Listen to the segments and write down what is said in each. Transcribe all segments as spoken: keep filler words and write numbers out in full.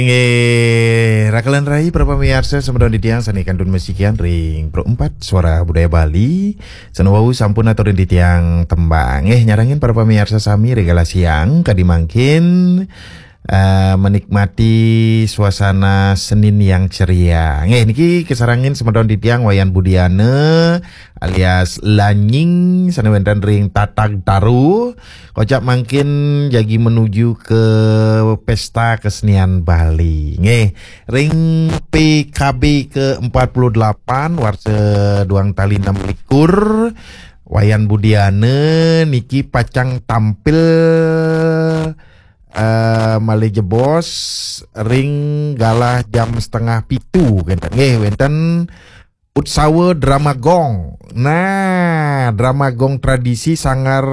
Inggih, rakelan rai para pamiarsa, semeton titiang sane kantun masikian ring Pro empat Suara Budaya Bali. Sane wau sampun aturin titiang tembang. Nggih, nyarengin para pamiarsa sami ring galah siang kadi mangkin, eh, menikmati suasana Senin yang ceria. Nggih, niki kasarengin semeton titiang Wayan Budiana alias Lanying sane wenten ring Tatag Taru. Kocap mangkin jagi menuju ke Pesta Kesenian Bali. Nggih, ring P K B ke empat puluh delapan, warsa duang tali enam likur, Wayan Budiana niki pacang tampil, eh, malih jebos ring galah jam setengah pitu, kenten. Nggih, wenten Utsawa Drama Gong. Nah, Drama Gong tradisi Sanggar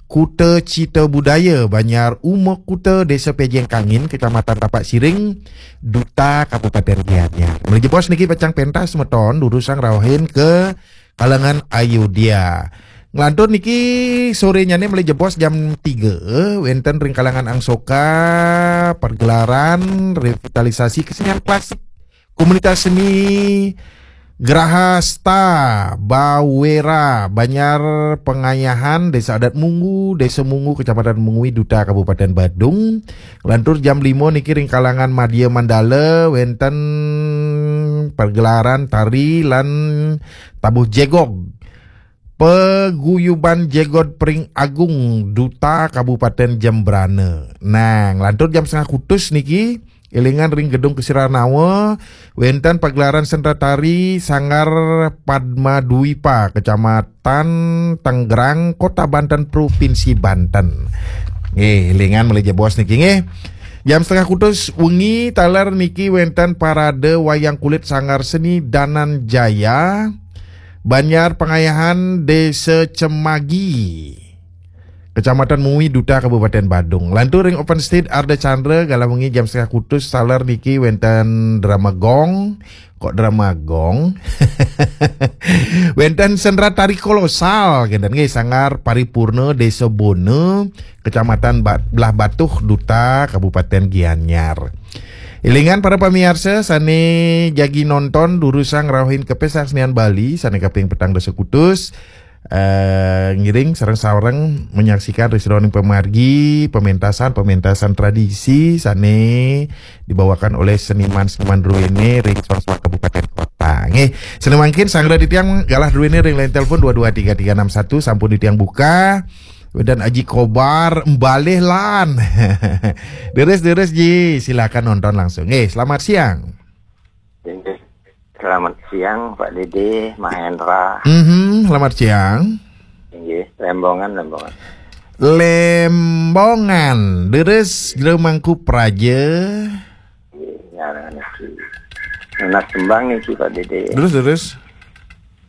Kuta Cita Budaya Banjar Uma Kuta, Desa Pejeng Kangin, Kecamatan Tapak Siring, Duta Kabupaten Gianyar. Malih jebos niki pacang pentas semeton durusang rauhin ke kalangan Ayodhya. Nglantur niki sorenyane malih jebos jam tiga, wenten ring kalangan Angsoka pergelaran revitalisasi kesenian klasik komunitas seni Grahasta Bawera, Banjar Pengayahan, Desa Adat Munggu, Desa Munggu, Kecamatan Mungwi, Duta Kabupaten Badung. Lantur jam lima niki ring kalangan Madya Mandala, wenten pergelaran tari lan tabuh jegog. Paguyuban Jegog Pring Agung, Duta Kabupaten Jembrana. Nah, nglantur jam setengah kutus niki, elingan ring Gedung Kesiranawa, wenten pagelaran sendratari Sanggar Padma Dwipa, Kecamatan Tanggerang, Kota Banten, Provinsi Banten. Nggih, elingan malih jebos niki nggih. Jam setengah kutus wengi taler niki wenten parade wayang kulit Sanggar Seni Dananjaya, Banjar Pengayahan, Desa Cemagi, Kecamatan Mui, Duta Kabupaten Badung. Lantur ring Open Stage Arda Chandra, galah wengi jam setengah kutus taler niki wenten drama gong. Kok drama gong? Wenten sendratari kolosal, kenten nggih, Sanggar Paripurna, Desa Bona, Kecamatan Ba-, Belah Batuh, Duta Kabupaten Gianyar. Elingan para pamiarsa sane jagi nonton durusang rauhin ke Pesta Kesenian Bali sane kaping petang dasa kutus, eh, ngiring sareng-sareng menyaksikan ring sajeroning pamargi pementasan-pementasan tradisi sane dibawakan oleh seniman-seniman druene ring suang-suang kabupaten kota. Nggih, sane mangkin sanggra titiang galah druene ring line telepon dua dua tiga tiga enam satu sampun titiang buka. Wenten Aji Kobar, mbalih lan. Deres-deres Ji, silakan nonton langsung. Nggih, selamat siang. Inggih. Selamat siang, Pak Dede, Mahendra. Mhm, selamat siang. Inggih, Lembongan, Lembongan. Lembongan, deres Jero Mangku Praja. Inggih, ngarang niki. Nunas tembang niki, Pak Dede. Terus, terus.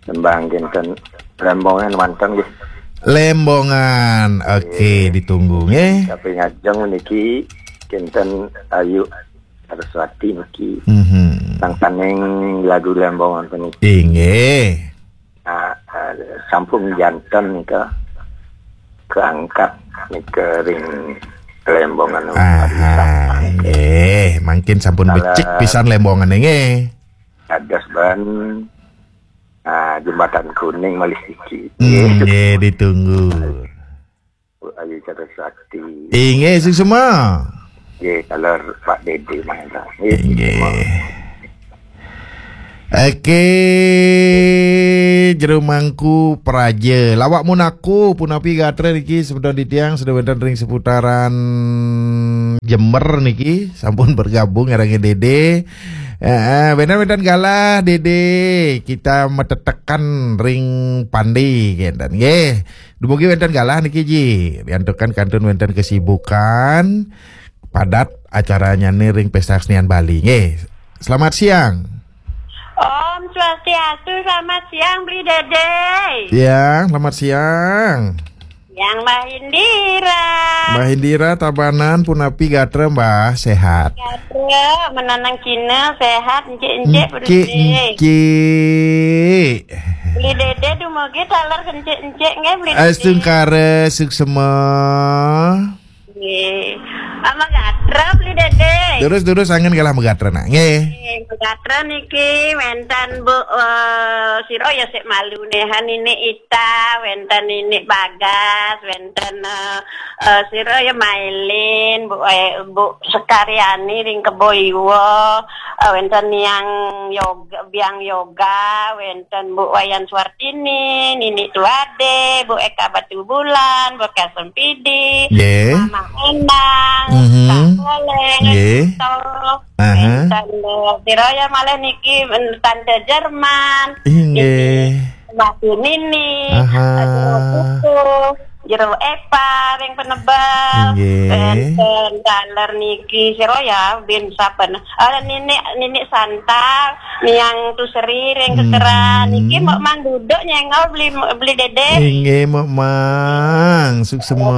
Tembang kinten Lembongan manten nggih. Lembongan. Oke, nggih, ditunggu nggih. Tapi ngajeng niki kinten Ayu Saraswati niki. Mhm. Sang saning lagu Lembongan puniki. Inggih. Nah, eh, sampun janten nika keangkat nika ring Lembongan. Aha, nggih. Mangkin sampun becik pisan Lembongan nggih. Dados ban, ah, Jembatan Kuning malih siki. Hmm, nggih, ditunggu. Bu Ayu Chandra Sakti. Inggih, suksma. Nggih, taler Pak Dede Mahendra. Nggih, inggih, suksma. Oke, Jero Mangku Praja. Lawak mun aku, punapi gatra niki semeton titiang sudah wenten ring seputaran Jember niki, sampun bergabung ngarengin Dede. Heeh, wenten-wenten galah Dede. Kita metetekan ring pande kenten nggih. Dumugi wenten galah niki Ji. Riantukan kantun wenten kesibukan padat acaranyane ring Pesta Kesenian Bali. Nggih. Selamat siang. Om Swastiastu, selamat siang Bli Dede. Siang, selamat siang. Yang Mbah Indira. Mbah Indira Tabanan punapi gatra Mbah, sehat? Gatra, menanang Cina sehat, encik-encik. Encik, Bli Dede. Encik. Bli Dede dumugi taler encik-encik nggih Bli Dede. Astungkara suksma. Nggih. Ama gatra beli Dede. Terus-terus angin kalah megatra nak. Nggih. Nggih, megatra niki wenten Bu, eh, sira ya sik malu nehan, Nini Ita, wenten Nini Bagas, wenten, eh, eh, sira ya Mailin, Bu, eh, Bu Sekaryani ring Kebo Iwa, eh, wenten Niang Yoga, Biang Yoga, wenten Bu Wayan Suartini, Nini Tuade, Bu Eka Batubulan, Bu Eka Sempidi, Nggih. Mama Endang, Mhm. Kak Koleng, Nggih. Ento, Aha. Wenten, eh, sira ya malih niki, Tante Jerman, Inggih. Nini, Mbak Nini, Aha. Aduh, Putu, Jero Epa, ring Penebel, Inggih. Wenten taler niki, sira ya, bin saben. Eh, Nini, Nini Santa, Niang Tuseri, ring Kekeran. Hmm. Niki Mbok Mang duduk nyengol beli, beli Dede. Inggih, Mbok Mang. Suksema.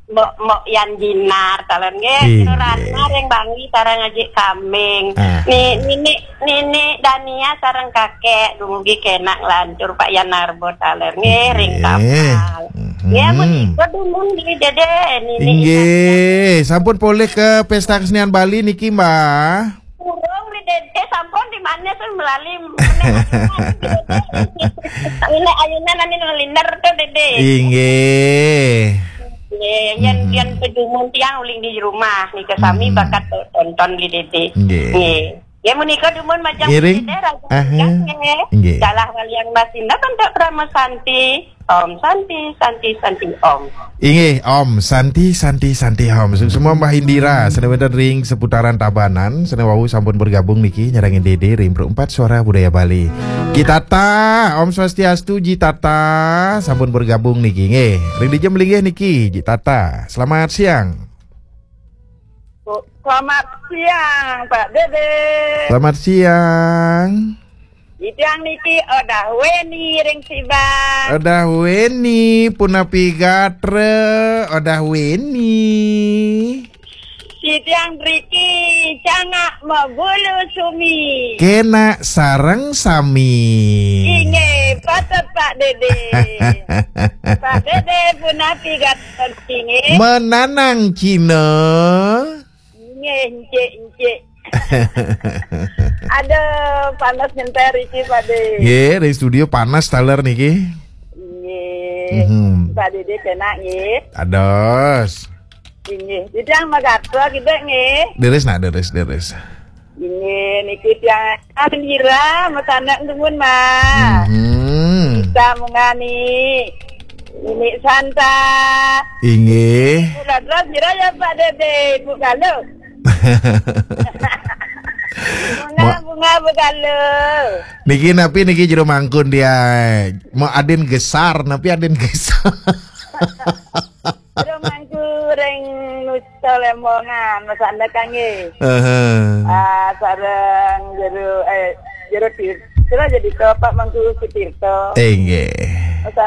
Mbok, Mbok Yan Jinar, taler nggih. Inggih. Sira Ratna ring Bangli, sareng Ajik Kambing. Ah. Ni, Nini, Nini Dania, sareng Kakek, dumugi kenak lantur Pak Yan Narbo, taler nggih, ring Inggih. Kapal. Mhm. Ya, menika dumun beli Dede, Nini Inggih, Intan. Sampun polih ke Pesta Kesenian Bali niki, Mbah? Urung beli Dede, sampun di mana tuh melali meneh ayunan, Dede. Ini ayunan ane ngeliner tuh, Dede. Inggih. Nggih, yen, Mhm. yen pedumun tiang uling di rumah nika sami Mhm. bakat tonton beli Dede. Nggih. Nggih. Ya menika dumun majeng Ngiring. Beli Dede, raja Aha. Tiang, nggih. Nggih. Dalah waliang Mas Indah bentuk Krama Santi. Om Santi, Santi, Santi, Om. Inggih, Om Santi, Santi, Santi, Om. Suksema Mbah Indira, sane wenten ring seputaran Tabanan, sane wau sampun bergabung niki nyarengin Dede ring Perempat Suara Budaya Bali. Ji Tata, Om Swastiastu, Ji Tata, sampun bergabung niki, nggih. Ring dija melinggih niki, Ji Tata. Selamat siang. Selamat siang, Pak Dede. Selamat siang. Titiang niki Odah Weni ring Sibang. Odah Weni, punapi gatra, Odah Weni. Titiang driki cangak mabulu sumi. Kenak sareng sami. Inggih, patut Pak Dede. Pak Dede punapi gatra niki, nggih? Menanang Cina. Nggih, encik, encik. Aduh, panas nyentai riki, Pak De. Nggih, dari studio panas taler niki. Nggih. Mhm. Pak Dede kenak, nggih. Ados. Nggih. Titiang magatra kita, nggih. Deres nak, deres, deres. Nggih, niki tiang Indira, masanak dumun, Mas. Mhm. Kita mengani. Ini Santa. Inggih. Mula terus kira ya, Pak Dede, Ibu Galuh. Bunga, Ma- bunga, Bu Galuh. Niki napi niki jero mangkun dia? Mau adin gesar, napi adin gesar? Jero mangku ring Nusa Lembongan, Mas Anda kangge. Heeh. Ah, sareng jero, eh, jero Tir-, jero jadi ke Pak Mangku Sutirto. Inggih.